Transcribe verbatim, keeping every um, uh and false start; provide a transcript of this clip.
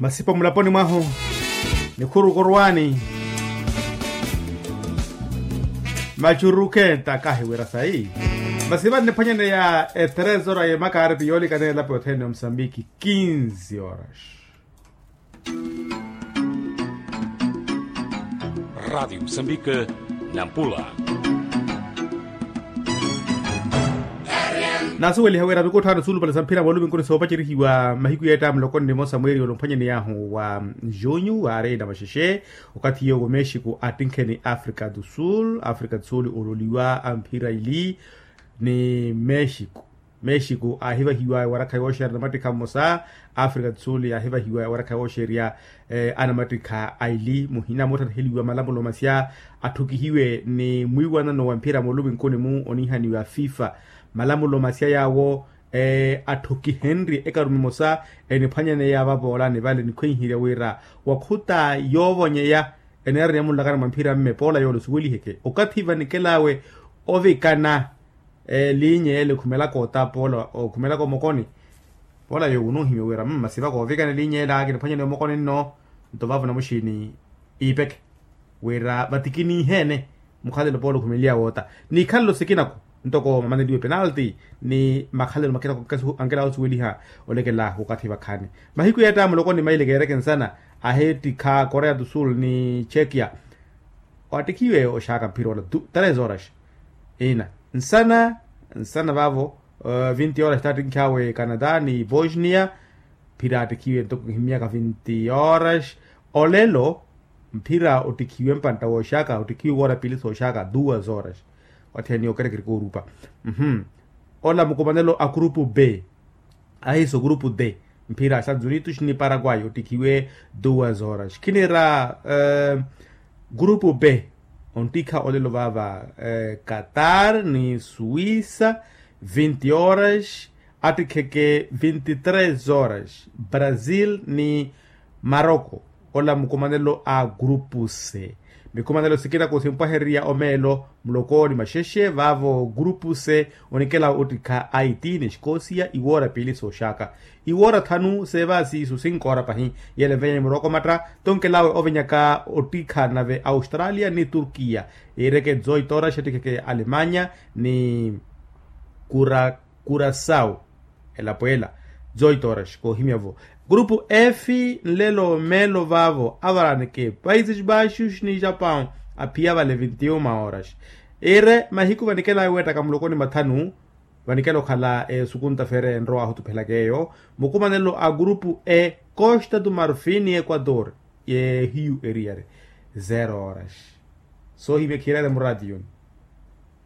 Masipa mulaponi mwahu, nikhuru korwani, machurukhenta kahiwira sayi. Masi vanniphwanyaneya etrezora yemakaaripi yoolikana elapo yothene ya musambiki. Kinzi horas. Radiyo musambiki, nampula. Naasuweliha wira mikutthaano suulupale sa mphira mooluminkuni soopacerihiwa mahiku yeetta mulokoni nimosa mweeri olumphwanyaneyaahu wa junyu waari na maxexe. Okathi yowo mexico attinkheni africa do sul africa do sul ololiwa a mphira ili ni mexico. Mexico aahivahiwa ewarakha yooxeerya anamattikha mmosa. Africa do sul yaahivahiwa ewarakha yooxeerya anamattikha aili muhina moottattheliwa malamulo masya atthukihiwe ni mwiiwanano wa mphira mooluminkuni-mu oniihaniwa fifa. Malamulo masya yaawo atthukihenrye ekarume emosa eniphwanyaneya vavoolani vale nikhwenhirya wira wakhuta yoovonyeya eneeraniya munlakano mwa mphira mme poola yoole osuweliheke okathi vanikelawe ovikana. Liinyeela okhumelaka ota poola okhumelaka omokoni. Poola yoowo onuuhimya wira masi vakoovikana liinyeela kiniphwanyane omokoni nno. Nto vaavo namuxiini iipeke wira vatikiniihene mukhalelo poola okhumeliya woota. Ni ikhalelo sikinaku ntoko mamaneliwe penalti ni makhalelo makinaku ankela osuweliha olekela wakathi vakhaani. Mahiku yeetta mulokoni maileke ereke nsana ahittikha korea do sul ni chekia. Wattikhiwe oxaaka mphira ola tres horas ina nsana nsana vaavo. Vinti horas tattinkhawe canada ni bosnia. Mphira attikhiwe ntoko khimiyaka vinti horas olelo. Mphira ottikhiwe mpantta wooxaaka ottikhiwe woora piili sooxaaka duas horas. Wathiyaniya okerekerika orupa ola mukumanelo a grupu b. Ahiiso grupu d mphira a estados unidos ni paraguay ottikhiwe duas horas khinira. Grupu b onttikha olelo vaava qatar ni suisa vinti horas. Attikheke vinti tres horas brazil ni maroko. Ola mukumanelo a grupu c. Mikumanelo sikinaku simpwahererya omeelo muloko ni maxexe vaavo grupu c. Onikela ottikha aiti ni xikosia iwoora piili sooxaaka iwoora thanu seevaasi isu sinkoora pahi. Yele nvenyani muroko matta tonkelawe ovenyaka ottikha nave australia ni turkiya. Iireke zoitorax ettikheke alemanya ni kura kurasau. Elapo ela zoitorax koohimya-vo. Grupu f nlelo meelo vaavo avaraneke países baixos ni japan aphiya vale vinti uma horas. Iire mahiku vanikelawe weettaka mulokoni mathanu. Vanikela okhala esukunta fere enrowaahu otuphelaka eyo. Mukumanelo a grupu e costa do marfin ni equador. Yeehiyu eriyari zero horas. Soohimya khiirale muratiyoni.